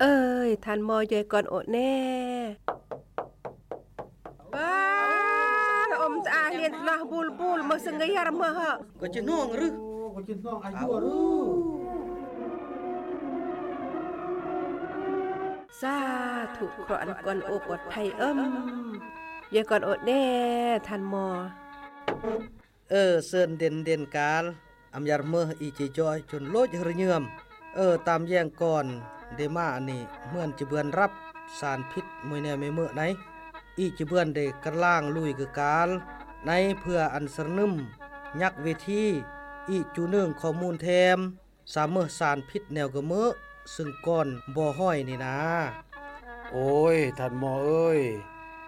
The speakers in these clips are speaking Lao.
ເອີຍ ທ່ານໝໍ ຢາຍກ່ອນໂອແນ່. ບ້າ ອມສະອາດລຽນສະໜາບູລບູລ ມາສະຫງ່ຽມມາເຫາະ ກໍຈະນ້ອງຫຼື ກໍຈະນ້ອງອາຍຸຫຼື. ສາທຸ ເຄາະອັນກ່ອນໂອປອດໄພເອີມ ຢາຍກ່ອນໂອແນ່ ທ່ານໝໍ. ເອີ ເຊີນເດັ່ນເດັ່ນການ ອຳຢາດເມີອີຈິຈອຍຈົນໂລດຮະເຍີມ. ເອີ ຕາມແຍງກ່ອນເດມາອັນນີ້ ເໝືອນຈະເບືອນຮັບສານພິດມວຍແນວແມ່ເມີໃນ ອີຈະເບືອນໄດ້ກະລາງລຸຍກະການໃນເພື່ອອັນສະໜຶມຍັກເວທີ ອີຈະເນີງຂໍ້ມູນແຖມ ສາເມີສານພິດແນວກະເມີ ຊຶ່ງກ່ອນບໍ່ຫ້ອຍນີ້ນາ. ໂອ້ຍ ທ່ານໝໍເອີຍ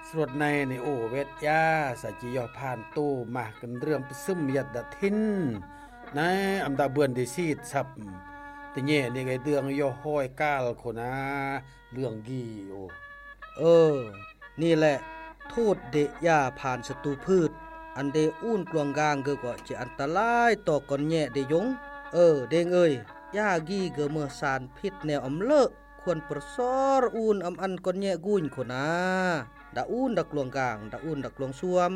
ສວດໃນນີ້ໂອແວດຢາ ສະຈິຍໍຜ່ານໂຕມາກັນເລື່ອງປະຊຸມຍັດດາທິນ ໃນອຳດາເບືອນໄດ້ຊີດສັບ ຕະແຍນີ້ໄກເດືອງຍໍຫ້ອຍກາລໂຄນາ ເລື່ອງກີໂອ. ເອີ ນີ້ແຫຼະ ໂທດເດຍາຜ່ານສັດຕູພືດ ອັນເດອູນກລວງກາງເກີກໍຈະອັນຕະລາຍຕໍ່ກ່ອນແຍະເດຢົງ. ເອີ ເດງເອີຍ ຢາກີເກີເມີສານພິດແນວອຳເລີ ຄວນປະຊອລອູນອຳອັນກ່ອນແຍະກຸຍໂຄນາ ດາອູນດາກລວງກາງ ດາອູນດາກລວງຊວມ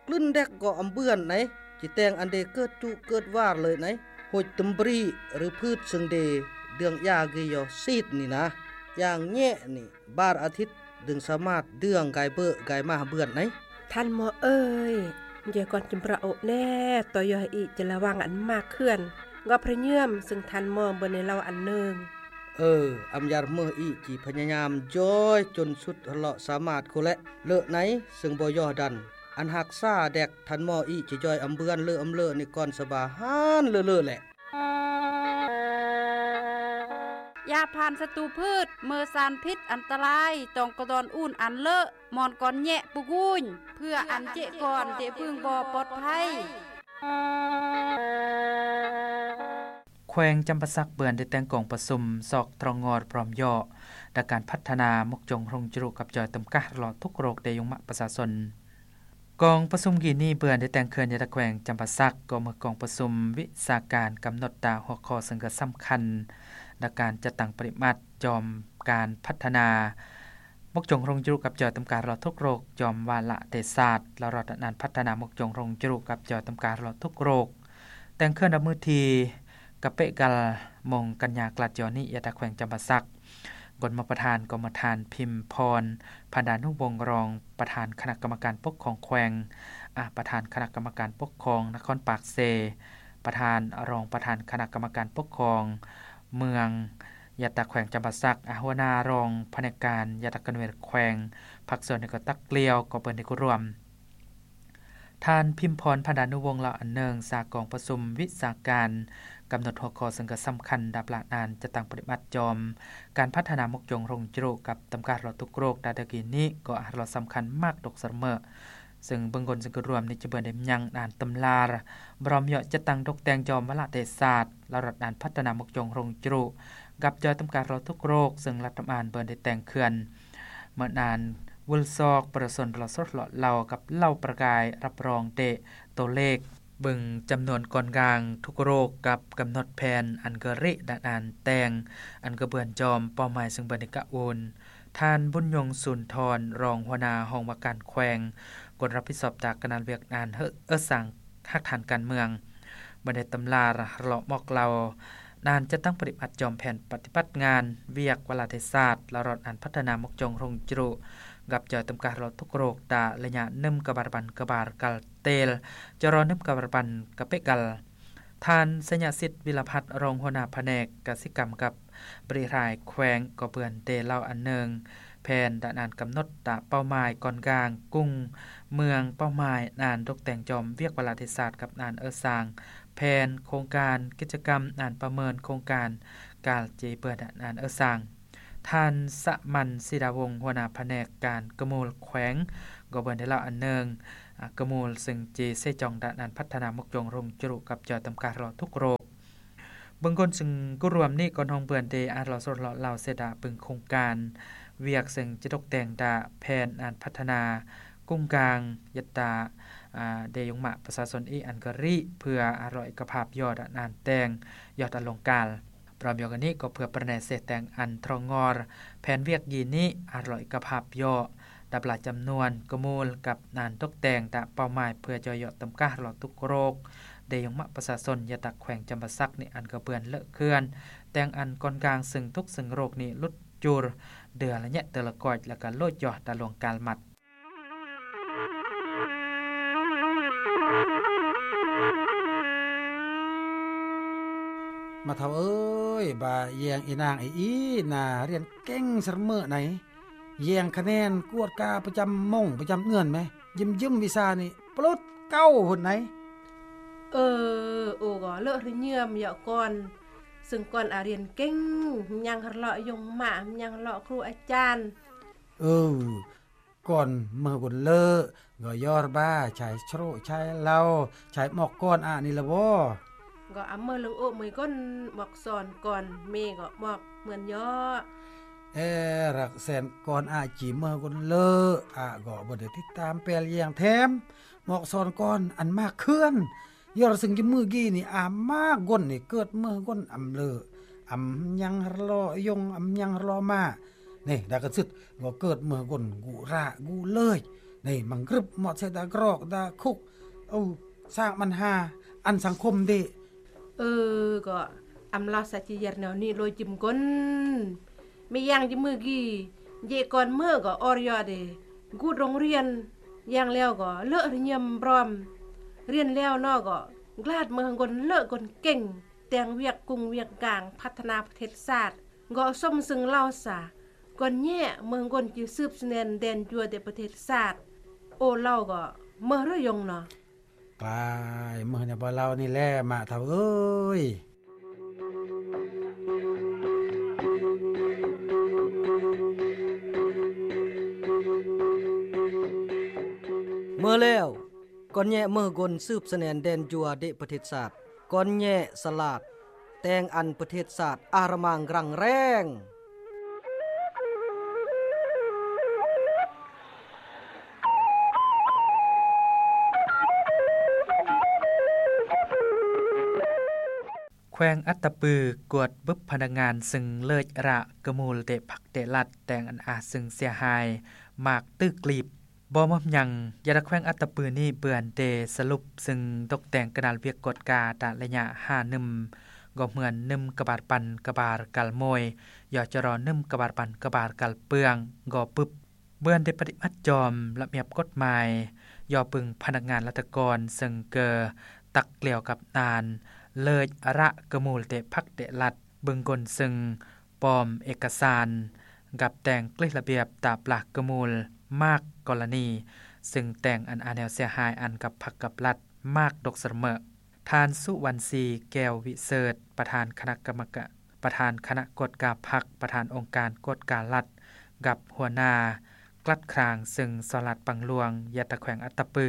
ກລຶ້ນແດກກໍອຳເບືອນໄນ ຈິແຕງອັນເດເກີດຈຸເກີດວານເລີຍໄນ ໂຫຍຕຳບຣີ ຫຼື ພືດເຊິ່ງເດເດືອງຢາກີຍໍຊີດນີ້ນາ ຢ່າງແຍະນີ້ ບາດອາທິດ ດຶງສາມາດເດືອງກາຍເບີກາຍມາເບືອນໄນ. ທ່ານໝໍເອີຍ ຢາຍກ່ອນຈຳປາໂອແນ່ ຕໍ່ຢາອີຈະລະວັງອັນມາກເຂື່ອນ ກໍພະຍາຍາມ ຊຶ່ງທ່ານໝໍເບິ່ງໃນເລົ່າອັນເນີງ. ເອີ ອຳຢາດເມີອີຈິພະຍາຍາມຢອຍຈົນສຸດເລາະສາມາດໂຄແລະ ເລີະໃນ ຊຶ່ງບໍ່ຍໍດັນ ອັນຮັກສາແດກ ທ່ານໝໍອີຈະຢອຍອຳເບືອນເລີອຳເລີນີ້ກ່ອນສະບາຫານເລີໆແຫຼະ. ຢາຜ່ານສັດຕູພືດ ເມີສານພິດອັນຕະລາຍ ຕ້ອງກະດອນອູນອັນເລີ ໝອນກ່ອນແຍະປຸກຸຍ ເພື່ອອັນເຈະກ່ອນເດບຶງບໍ່ປອດໄພ. ແຂວງຈຳປາສັກເບືອນໄດ້ແຕ່ງກອງປະຊຸມ ຊອກທຣອງງອດພ້ອມເຍາະ ດາການພັດທະນາ ມົກຈົງໂຮງຈະລຸກັບຈອຍ ຕຳກາດເລາະທຸກໂລກ ໄດ້ຍົງມະປະຊາຊົນ. ກອງປະຊຸມກີ້ນີ້ເບືອນໄດ້ແຕ່ງເຄື່ອນຍາຕາແຂວງຈຳປາສັກ ກໍເມືອກອງປະຊຸມວິຊາການກຳນົດຕາຫົວຂໍ້ເຊິ່ງກະສຳຄັນ ດາການຈັດຕັ້ງປະຕິບັດຈອມການພັດທະນາ ມົກຈົງໂຮງຈະລຸກັບຈອຍ ຕຳກາດເລາະທຸກໂລກ ຈອມວາລະເດຊາດ ລະລອດອັນພັດທະນາ ມົກຈົງໂຮງຈະລຸກັບຈອຍ ຕຳກາດເລາະທຸກໂລກ. ແຕ່ງເຄື່ອນຮັບມື້ທີ ກະເປກາລ ມົງກັນຍາກລາດຈອນນີ້ ຍາຕາແຂວງຈຳປາສັກ ກົນມາປະທານ ກໍມາທ່ານ ພິມພອນ ພັນດານຸວົງ ຮອງປະທານຄະນະກຳມະການປົກຄອງແຂວງ, ອາ ປະທານຄະນະກຳມະການປົກຄອງນະຄອນປາກເຊ, ປະທານ, ອາ ຮອງປະທານຄະນະກຳມະການປົກຄອງເມືອງ, ຍາຕາແຂວງຈຳປາສັກ, ອາ ຫົວໜ້າຮອງພະແນກການ, ຍາຕາກະໜ່ວຍແຂວງ, ພາກສ່ວນທີ່ກໍຕັກກ່ຽວ ກໍເປີດໃຫ້ເຂົ້າຮ່ວມ. ທ່ານ ພິມພອນ ພັນດານຸວົງ ເລົ່າອັນເນື່ອງຈາກກອງປະຊຸມວິຊາການ ກຳນົດຫົວຂໍ້ເຊິ່ງກະສຳຄັນ ດາບລະນານ ຈັດຕັ້ງປະຕິບັດຈອມ ການພັດທະນາມົກຈົງໂຮງຈະລຸກັບຕຳກາດເລາະທຸກໂລກ ດາດະກີນີ້ ກໍອາດເລາະສຳຄັນມາກຕົກສະເໝີ ເຊິ່ງເບື້ອງຕົ້ນເຊິ່ງກະລວມນີ້ຈະເບິ່ງໄດ້ຍັງອານຕຳລາ ບຣອມເຍາະຈັດຕັ້ງຕົກແຕ່ງຈອມວາລະເດຊາດ ລະລັດອານພັດທະນາມົກຈົງໂຮງຈະລຸ ກັບຈອຍຕຳກາດເລາະທຸກໂລກ ເຊິ່ງລັດຖະບານເບິ່ງໄດ້ແຕ່ງເຄື່ອນ ເໝິດອານວືລຊອກປະຊາຊົນເລາະສົດເລາະເລົ່າ ກັບເລົ່າປະກາຍຮັບຮອງເດໂຕເລກ ເບິ່ງຈຳນວນກ່ອນກາງທຸກໂລກ ກັບກຳນົດແຜນອັນກະລິດານອານແຕ່ງ ອັນກະເບືອນຈອມເປົ້າໝາຍເຊິ່ງເບິ່ງໄດ້ກະໂອນ. ທ່ານ ບຸນຍົງ ສູນທອນ ຮອງຫົວໜ້າຫ້ອງວ່າການແຂວງ ຄົນຮັບຜິດຊອບຈາກຄະນະວຽກງານເອີສາງຮາກຖານການເມືອງ ເບິ່ງໄດ້ຕຳລາ ເລາະບອກເລົ່າ ນານຈັດຕັ້ງປະຕິບັດຈອມແຜນປະຕິບັດງານວຽກວາລະເດຊາດ ລະລັດອານພັດທະນາມົກຈົງໂຮງຈະລຸ ກັບຈອຍຕຳກາດເລາະທຸກໂລກ ຕາລະຍະໜຶ່ງກະບາລະບັນກະບາລະກາລເຕລ ຈະລໍໜຶ່ງກະບາລະບັນກະເປກາລ. ທ່ານ ໄຊຍະສິດ ວິລະພັດ ຮອງຫົວໜ້າພະແນກກະສິກຳກັບ ບໍລິຫານແຂວງ ກໍເບືອນໄດ້ເລົ່າອັນເນື່ອງ ແຜນດານອານກຳນົດຕາເປົ້າໝາຍກ່ອນກາງກຸງເມືອງ ເປົ້າໝາຍອານຕົກແຕ່ງຈອມວຽກວາລະເດຊາດ ກັບອານເອີສາງແຜນໂຄງການກິດຈະກຳ ອານປະເມີນໂຄງການການເຈເບືອນອານເອີສາງ. ທ່ານ ສະໝັນ ສີດາວົງ ຫົວໜ້າພະແນກການກະມູລແຂວງ ກໍເບືອນໄດ້ເລົ່າອັນເນື່ອງ ອາ ກະມູລເຊິ່ງເຈເຊຈອງດານອານພັດທະນາມົກຈົງໂຮງຈະລຸກັບຈອຍຕຳກາດເລາະທຸກໂລກ. ເບື້ອງຕົ້ນເຊິ່ງກະລວມນີ້ ກ່ອນຫ້ອງເບືອນເດອາດເລາະສົດເລາະເລົ່າເສດດາເບິ່ງໂຄງການວຽກເຊິ່ງຈະຕົກແຕ່ງດາແຜນອານພັດທະນາກຸງກາງ ຍັດຕາ ອາ ເດຍົງມະປະຊາຊົນອີອັນກະຣິ ເພື່ອອາດເລາະເອກະພາບຍອດອານແຕ່ງ ຍອດອາລົງການ. ພ້ອມດຽວກັນນີ້ກໍເພື່ອປະແນເສແຕ່ງອັນທຣອງງອລ ແຜນວຽກກີນີ້ອາດລອຍກະພາບເຍາະ ດັບລາຈຳນວນກະມູນກັບນານຕົກແຕ່ງຕາເປົ້າໝາຍ ເພື່ອຈອຍເຍາະຕຳກາຮລອດທຸກໂລກ ເດຍົງມະປະຊາຊົນ ຍາຕັກແຂວງຈຳປາສັກນີ້ ອັນກະເບືອນເລອະເຄື່ອນ ແຕ່ງອັນກ່ອນກາງເຊິ່ງທຸກເຊິ່ງໂລກນີ້ຫຼຸດ ຈູຣ ເດືອລະຍະເຕີລະກອຍ ແລະກະໂລດຢໍຕາຫຼວງການມັດ. ມາເຖົ້າເອີຍ ບາແຍງອີນາງອີອີນາ ຮຽນເກັ່ງສະເໝີໄນ ແຍງຄະແນນກວດກາປະຈຳມົ້ງປະຈຳເຮືອນແມ ຢືມໆວິຊານີ້ປະລຸດເກົ້າພຸ້ນໄນ. ເອີ ໂອກໍເລີກຮະເຍືອມເຍາະກ່ອນ ເຊິ່ງກ່ອນອາຮຽນເກັ່ງ ຍັງຮະເລາະຍົງມະ ຍັງເລາະຄູອາຈານ ເອີ ກ່ອນເມີກົນເລີ ກໍຢໍຣະບາ ໃຊ້ໂຊຣະ ໃຊ້ເຫຼົ້າ ໃຊ້ໝອກກ່ອນອານີ້ລະບໍ ກໍອາເມີເລິງໂອເມີກົນ ໝອກສອນກ່ອນ ເມກໍໝອກເໝືອນຢໍ ເອ ລັກແສນກ່ອນອາຈີເມີກົນເລີ ອາກໍບໍ່ໄດ້ຕິດຕາມແປລແຍງແຖມ ໝອກສອນກ່ອນອັນມາກເຄື່ອນ ຢໍຣະເຊິ່ງຈະເມີກີນີ້ອາມາກົນນີ້ ເກີດເມີກົນອຳເລີ ອຳຍັງຮະເລາະຍົງ ອຳຍັງຮະເລາະມາ ນີ້ ດາກະຊຶດ ກໍເກີດເມືອກົນກຸຣາກຸເລີຍ ນີ້ມັງກຶບໝອດເສດາກຣອກດາຄຸກ ເອົາສ້າງບັນຫາອັນສັງຄົມເດ. ເອີ ກໍອຳລາວສາຈິເຢັນແນວນີ້ໂລຍຈິມກົນ ມີຢ່າງຈິມມືກີ ເຢກ່ອນເມືອກໍອອດຢອດເດ ກຸດໂຮງຮຽນ ຢ່າງແລ້ວກໍເລີກຮະເຍືອມບຣອມ ຮຽນແລ້ວເນາະກໍກລາດເມືອກົນເລີກກົນເກັ່ງ ແຕ່ງວຽກກຸງວຽກກາງ ພັດທະນາປະເທດຊາດ ກໍສົມເຊິ່ງລາວສາ ກ່ອນແຍະເມືອກົນຈິສືບສະແໜນແດນຈົວແຕ່ປະເທດຊາດ ໂອລາວກໍເມີເຮືອຍົງເນາະ ກາຍເມີແນວບໍ່ລາວນີ້ແຫຼະ ມາເຖົ້າເອີຍ. ເມີແລ້ວ ກ່ອນແຍະເມີກົນສືບສະແໜນແດນຈົວເດະປະເທດຊາດ ກ່ອນແຍະສະຫຼາດ ແຕ່ງອັນປະເທດຊາດອາຣະມັງຣັງແຮງ. ແຂວງອັດຕະປື ກວດບຶບພະນັກງານເຊິ່ງເລີຍອະຣະກະມູນເຕະພັກເຕະລັດ ແຕ່ງອັນອາເຊິ່ງເສຍຫາຍ ໝາກຕື້ກລີບ. ບໍ່ມາຫຍັງ ຢາດາແຂວງອັດຕະປືນີ້ເບືອນເດສະຫຼຸບເຊິ່ງຕົກແຕ່ງກະນາລວຽກກວດກາຕາລະຍະຫ້າໜຶ່ມ ກໍເໝືອນໜຶ່ມກະບາດປັນກະບາດກັນໂມຍ ຢໍຈະລໍໜຶ່ມກະບາດປັນກະບາດກັນເປືອງ ກໍບຶບ ເບືອນເດປະຕິບັດຈອມລະບຽບກົດໝາຍ ຢໍປຶງພະນັກງານລັດຖະກອນເຊິ່ງເກີດຕັກກ່ຽວກັບນານເລີຍອະຣະກະມູນເຕະພັກເຕະລັດ ບຶງກົນເຊິ່ງ ປອມເອກະສານ ກັບແຕ່ງກລິລະບຽບຕາປາກກະມູນ ມາກກໍລະນີ ເຊິ່ງແຕ່ງອັນອາແນວເສຍຫາຍອັນກັບພັກກັບລັດ ມາກຕົກສະເໝີ. ທ່ານ ສຸວັນສີ ແກ້ວວິເສີດ ປະທານຄະນະກຳມະກະ ປະທານຄະນະກວດກາພັກ ປະທານອົງການກວດກາລັດ ກັບຫົວໜ້າກລັດຄາງເຊິ່ງສະຫຼາດບັງຫຼວງ ຍາຕາແຂວງອັດຕະປື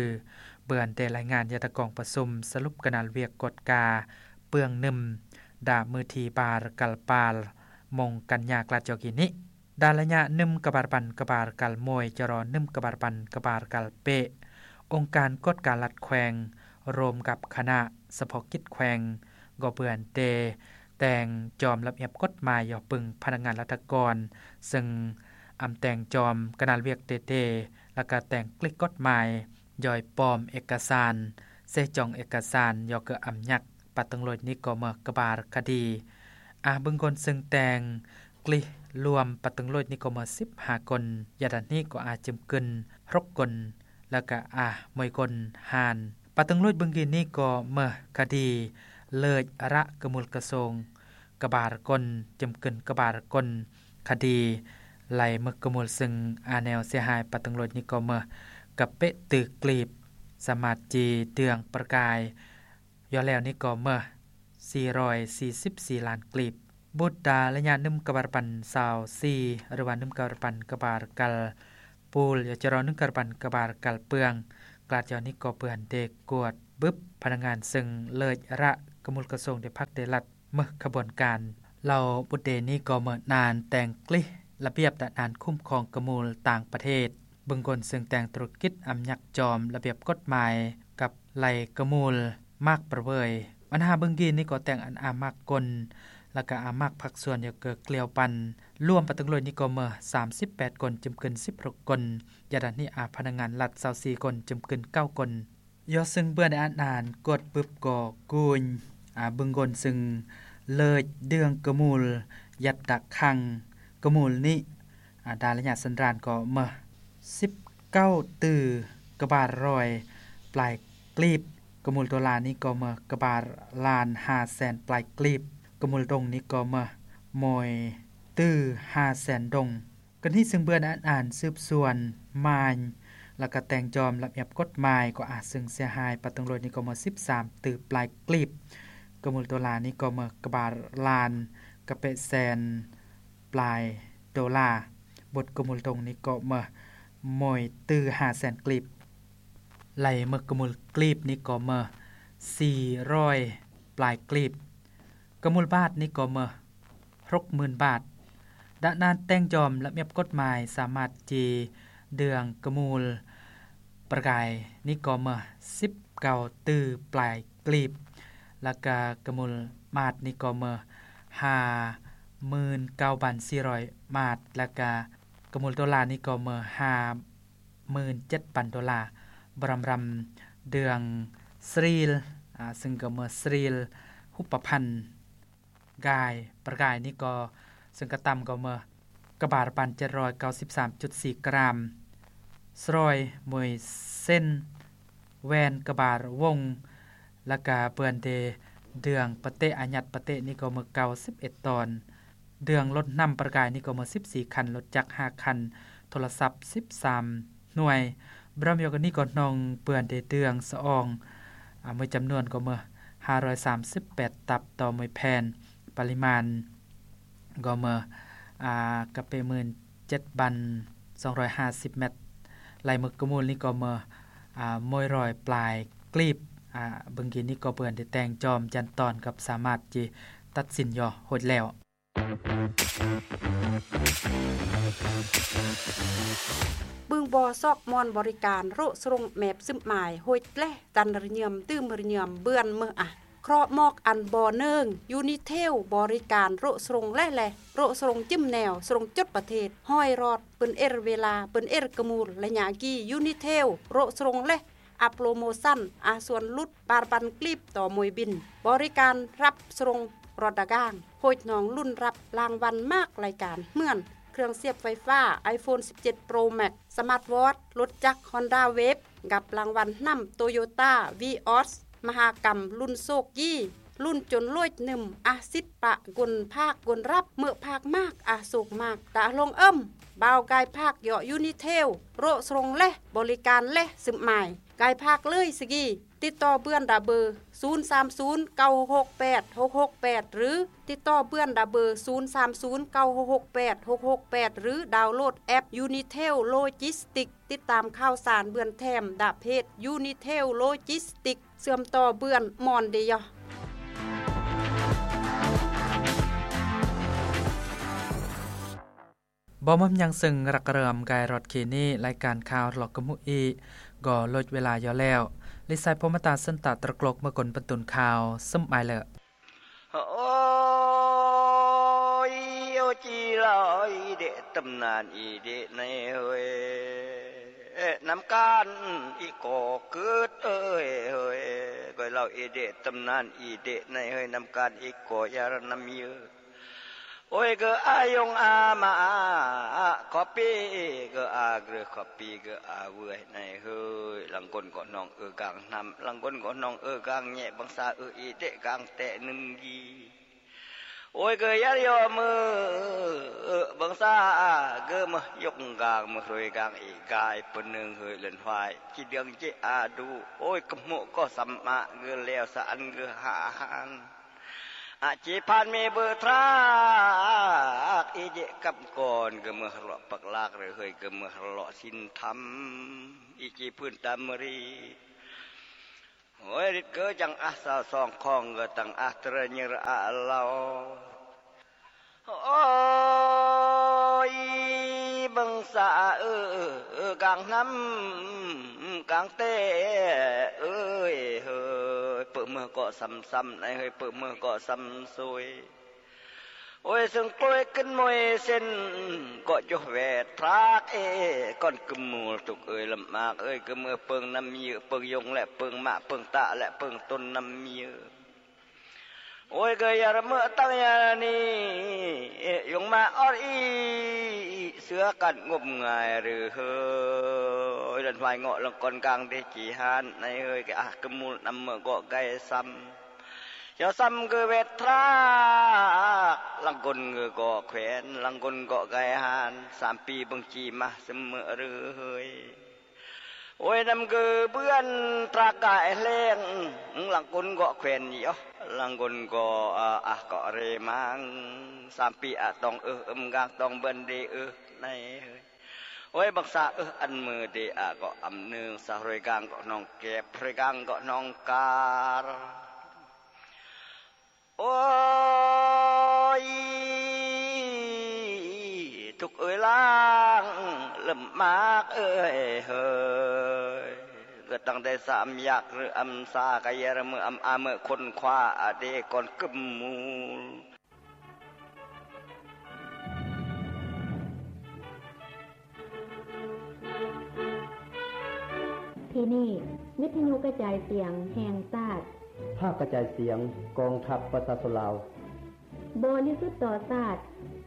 ເບືອນໄດ້ລາຍງານຍາຕາກອງປະຊຸມສະຫຼຸບກະນາລວຽກກວດກາເປືອງໜຶ່ມ ດາມື້ທີບາຣກັນປາລ ມົງກັນຍາກລາດຈອກກີນີ້ ດາລະຍະໜຶ່ມກະບາດປັນກະບາດກັນໂມຍ ຈະລໍໜຶ່ມກະບາດປັນກະບາດກັນເປະ ອົງການກວດກາລັດແຂວງ ລວມກັບຄະນະສະເພາະກິດແຂວງ ກໍເບືອນເດ ແຕ່ງຈອມລະບຽບກົດໝາຍ ຢໍປຶງພະນັກງານລັດຖະກອນ ເຊິ່ງອຳແຕ່ງຈອມກະນາລວຽກເຕເຕ ລະກະແຕ່ງກລິກກົດໝາຍ ຢໍປອມເອກະສານ ເຊຈອງເອກະສານ ຢໍເກີອຳຍັກ ປາຕຶງໂລຍນິໂກເມີກະບາຣຄະດີ ອາບຶງກົນເຊິ່ງແຕ່ງກລິລວມປາຕຶງໂລຍນິໂກເມີສິບຫ້າຄົນ ຢາດານນີ້ກໍອາຈຶມກຶນຫົກຄົນ ລະກະອາມວຍກົນຫ້ານ ປາຕຶງໂລຍບຶງກີນີ້ກໍເມີຄະດີເລີຍອະຣະກະມູນກະຊົງ ກະບາຣກົນ ຈຳກຶນກະບາຣກົນ ຄະດີໄລ່ເມີກະມູນເຊິ່ງອາແນວເສຍຫາຍປາຕຶງໂລຍນິໂກເມີກະເປະຕື້ກລີບ ສະມາດຈີເດືອງປະກາຍ ຢໍແລ້ວນີ້ກໍເມີສີ່ຮ້ອຍສີ່ສິບສີ່ລ້ານກລີບ ບຸດດາລະຍະໜຶ່ງກະບາຣປັນຊາວສີ່ ຫຼືວ່າໜຶ່ງກະບາຣປັນກະບາຣກັນປູລ ຢໍຈະລໍໜຶ່ງກະບາຣປັນກະບາຣກັນເປືອງ ກະລາດຢໍນີ້ກໍເບືອນເດກວດບຶບພະນັກງານເຊິ່ງເລີຍອະຣະກະມູນກະຊົງເດພັກເດລັດ ເມີຂະບວນການ ເຫຼົ່າບຸດເດນີ້ກໍເມີນານແຕ່ງກລິລະບຽບຕະນານຄຸ້ມຄອງກະມູນຕ່າງປະເທດ ບຶງກົນເຊິ່ງແຕ່ງທຸລະກິດອຳຍັກຈອມລະບຽບກົດໝາຍ ກັບໄລ່ກະມູນມາກປະເວີຍ ບັນຫາບຶງກີນີ້ກໍແຕ່ງອັນອາມາກກົນ ລະກະອາມັກພາກສ່ວນຢາກເກີກເກ່ຽວປັນ ລວມປະຕຶງໂລຍນີ້ກໍເມີສາມສິບແປດຄົນ ຈຳກຶນສິບຫົກຄົນ, ຢາດານນີ້ອາພະນັກງານລັດຊາວສີ່ຄົນ ຈຳກຶນເກົ້າຄົນ. ຢໍ່ຊຶ່ງເບືອນອານອານ ກວດປຶບກໍກູນ ອາ ບຶງໂກນ ຊຶ່ງເລີຍເດືອງກະມູລ ຍັດດະຄັງ ກະມູລນີ້ ອາ ດາລະຍະສັນດານກໍເມີສິບເກົ້າຕື້ກະບາດຮ້ອຍປາຍກລີບ, ກະມູລໂຕລານີ້ກໍເມີກະບາດລ້ານຫ້າແສນປາຍກລີບ, ກະມູລດົງນີ້ກໍເມີໂມຍຕື້ຫ້າແສນດົງ. ກະນີຊຶ່ງເບືອນອານອານສືບສວນມາຍ ລະກະແຕ່ງຈອມລະບຽບກົດໝາຍ ກໍອາດຊຶ່ງເສຍຫາຍປະຕຶງໂລຍນີ້ກໍເມີສິບສາມຕື້ປາຍກລີບ, ກະມູລໂຕລານີ້ກໍເມີກະບາດລ້ານກະເປະແສນ ປາຍໂດລາ, ບົດກະມູນດົງນີ້ກໍເມີໂມຍຕື້ຫ້າແສນກລີບ, ໄລ່ເມີກະມູນກລີບນີ້ກໍເມີສີ່ຮ້ອຍປາຍກລີບ, ກະມູນບາດນີ້ກໍເມີຫົກໝື່ນບາດ. ດານານແຕ່ງຈອມລະບຽບກົດໝາຍສາມາດຈີເດືອງກະມູນປະກາຍນີ້ກໍເມີສິບເກົ້າຕື້ປາຍ ກລີບ, ລະກະກະມູນບາດນີ້ກໍເມີຫ້າໝື່ນເກົ້າພັນສີ່ຮ້ອຍບາດ, ລະກະກະມູນໂດລານີ້ກໍເມີຫ້າໝື່ນເຈັດພັນໂດລາ. ບຣຳຣຳເດືອງສຣີລ ອາ ຊຶ່ງກໍເມີສຣີລ ຮຸບປະພັນກາຍ ປະກາຍນີ້ກໍ ຊຶ່ງກະຕ່ຳກໍເມີ ກະບາດພັນເຈັດຮ້ອຍເກົ້າສິບສາມຈຸດສີ່ກຣາມ, ສຣອຍ ໂມຍເຊັນ ແຫວນກະບາດວົງ, ລະກະເບືອນເດເດືອງປະເຕະອາຍັດປະເຕະນີ້ກໍເມີເກົ້າສິບເອັດຕອນ, ເດືອງລົດນ້ຳປະກາຍນີ້ກໍເມີສິບສີ່ຄັນ, ລົດຈັກຫ້າຄັນ, ໂທລະສັບສິບສາມໜ່ວຍ. ບຣຳຢອກກະນີ້ກໍນ້ອງເບືອນເດເດືອງສະອອງ ອາ ເມີຈຳນວນກໍເມີຫ້າຮ້ອຍສາມສິບແປດຕັບຕໍ່ເມີແຜ່ນ, ປະລິມານ ກໍເມີ ອາ ກະເປະໝື່ນເຈັດພັນສອງຮ້ອຍຫ້າສິບແມັດ, ໄລ່ເມີກະມູນນີ້ກໍເມີ ອາ ໂມຍຮ້ອຍປາຍກລີບ. ອາ ເບິ່ງກີ້ນີ້ກໍເພິ່ນໄດ້ແຕ່ງຈອມຈັນຕອນກັບສາມາດຈີຕັດສິນຍໍໂຮດແລ້ວ. ບຶງບໍ່ຊອກມ່ອນບໍລິການໂຣະຊົງແມບຊຶມໝາຍ ໂຮຍແລະ ຕັນລະຍືມຕື່ມລະຍືມເບືອນເມີອາ ເຄາະໝອກອັນບໍ່ເນີງ ຢູນິເທວ ບໍລິການໂຣະຊົງແລະ ແລະ ໂຣະຊົງຈິ້ມແນວ ຊົງຈົດປະເທດ ຮ້ອຍຣອດ ເປິນເອຣເວລາ ເປິນເອຣກະມູນ ໄລຍະກີ້ ຢູນິເທວ ໂຣະຊົງແລະ ອາໂປຣໂມຊັນ ອາສ່ວນຫຼຸດ ປານພັນກລີບຕໍ່ໂມຍບິນ ບໍລິການຮັບສົ່ງລົດດາກາງ ໂພດນ້ອງລຸ້ນຮັບລາງວັນມາກລາຍການເຮືອນ ເຄື່ອງສຽບໄຟຟ້າ ໄອໂຟນສິບເຈັດໂປຣແມັກ ສະມາດວອດ ລົດຈັກຮອນດ້າເວບ ກັບລາງວັນນຳໂຕໂຍຕ້າ ວີອອສ ມະຫາກຳລຸ້ນໂຊກກີ້ ລຸ້ນຈົນໂລດໜຶ່ມ ອາສິດປະກຸນພາກກຸນຮັບ ເມີພາກມາກ ອາໂສກມາກ ຕາລົງເອີມ ບ່າວກາຍພາກເຍາະຢູນິເທວ ໂຣະຊົງແລະ ບໍລິການແລະ ຊຶມໝາຍ ກາຍພາກເລີຍສະກີ ຕິດຕໍ່ເບືອນດາເບີ ສູນສາມສູນ ເກົ້າຫົກຫົກແປດ ຫົກຫົກແປດ ຫຼື ຕິດຕໍ່ເບືອນດາເບີ ສູນສາມສູນ ເກົ້າຫົກຫົກແປດ ຫົກຫົກແປດ ຫຼື ດາວໂຫຼດແອັບຢູນິເທວໂລຈິສຕິກ ຕິດຕາມຂ່າວສານເບືອນແຖມດາເພຈຢູນິເທວໂລຈິສຕິກ ເຊື່ອມຕໍ່ເບືອນມ່ອນເດຍ. ບໍ່ມີຫຍັງເຊິ່ງລັກເລີ່ມກາຍຮອດຄີນີ້ ລາຍການຂ່າວລອກກະມຸອີ ກໍເລີຍເວລາຢູ່ແລ້ວ. ລິໄຊພົມມະຕາ ເຊິ່ງຕະຕະກລົກເມືອກົນບັນຕຸນຂ່າວ ເຊິ່ງອາຍເລີ. ໂອຍ ໂອຈີລາວ ອີເດະຕຳນານ ອີເດະໃນເຮີຍ ນຳການອີ່ກໍເກີດເອີຍເຮີຍ ກໍລາວ ອີເດະຕຳນານ ອີເດະໃນເຮີຍ ນຳການອີ່ກໍຢາລະນຳເຍ ໂອຍ ເກີອາຍົງອາມາ ຂໍປີເກີອາເກີຂໍປີເກີອາເວີຍໃນເຮີຍ ລັງກົນກໍນ້ອງເອີກາງນ້ຳ ລັງກົນກໍນ້ອງເອີກາງແຍະ ບັງສາເອີອີເຕະກາງແຕະໜຶ່ງກີ ໂອຍ ເກີຢາລະຍໍມື ເອີບັງສາເກີມະຍົກກາງ ມະເຮີຍກາງອີກາຍ ປະເນີງເຮີຍເລີນຫວາຍ ຈີເດືອງຈີອາດູ ໂອຍ ກະໂມກກໍສຳມະເກີແລ້ວສະອັນເກີຫາອາຫານ ອາຈີພານເມເບີທຣາກ ອີເຈກຳກອນ ກະເມືອຮະເລາະປັກລາກເຣເຮີຍ ກະເມືອຮະເລາະສິນທຳ ອີຈີພື້ນຕາມະຣີ ໂອຍ ລິດເກີຈັງອາສາສອງຂອງ ເກີຕັງອາຕຣະເຍຣະອາລາວ ໂອຍ ບັງສາເອີ ກາງນ້ຳກາງແຕເອີຍເຮີຍ ເປິເມືອເກາະຊຳຊຳ ໃນເຮີຍ ເປິເມືອເກາະຊຳຊຸຍ ໂອ້ຍ ເຊິ່ງໂກຍຂຶ້ນມວຍເສັ້ນ ເກາະຢູ່ແວດທາກເອ ກ່ອນກຶມມູລ ທຸກເອີຍ ລຳອາກເອີຍ ກຶມເອີຍ ເປິງນ້ຳເຍືອ ເປິງຢົງ ແລະ ເປິງມະ ເປິງຕະ ແລະ ເປິງຕົ້ນນ້ຳເຍືອ. ໂອ້ຍ ເກີຍຢາລະເມີຕະຍານີ ຢົງມາອອດອີ ເສືອກັນງົມງາຍຫຼືເຮີຍ ລັນຫວາຍເງາະ ລັງກອນກາງເດຈີຮານ ໃນເຮີຍ ກະອາກຶມມູນ ນຳເມີເກາະໄກ່ຊຳ ເຈົ້າຊຳຄືເວດທາກ ລັງກົນຄືເກາະແຂວນ ລັງກົນເກາະໄກ່ຫານ ສາມປີເບິ່ງຈີມາຊະເມີເຮີຍ. ໂອ້ຍ ນຳຄືເບືອນທາກກາຍແລງ ລັງກົນເກາະແຂວນຢໍ ລັງກົນເກາະອາ ອາ ເກາະເຣມັງ ສາມປີອາຕອງເອີ ເອີມກາງຕອງເບືອນເດເອີ ໃນເຮີຍ. ໂອ້ຍ ບັກສາເອີ ອັນມືເດອາເກາະອຳເນີງ ສາໂຮຍກາງເກາະໜອງແກບ ໂຮຍກາງເກາະໜອງກາລ. ໂອ້ຍ ທຸກເອີຍ ລ້າງເລີ່ມມາກເອີຍເຮີຍ ເກີດຕັ້ງແຕ່ສາມຢາກ ຫຼືອຳສາ ກະເຢຍລະເມີອຳອາເມີຄົ້ນຄວ້າອາເດກ່ອນກຶມມູລ. ທີ່ນີ້ ວິທະຍຸກະຈາຍສຽງແຫ່ງຊາດ. ພາກກະຈາຍສຽງກອງທັບປະຊາຊົນລາວ. ບໍລິສຸດຕໍ່ຊາດ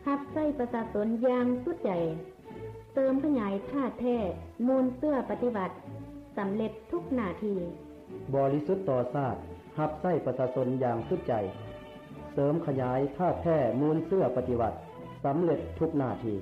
ຮັບໃຊ້ປະຊາຊົນຢ່າງສຸດໃຈ. ເສີມຂະຫຍາຍທ່າແທ້ມູນເຊື້ອປະຕິວັດ ສຳເລັດທຸກໜ້າທີ່. ບໍລິສຸດຕໍ່ຊາດ ຮັບໃຊ້ປະຊາຊົນຢ່າງສຸດໃຈ. ເສີມຂະຫຍາຍທ່າແທ້ມູນເຊື້ອປະຕິວັດ ສຳເລັດທຸກໜ້າທີ່.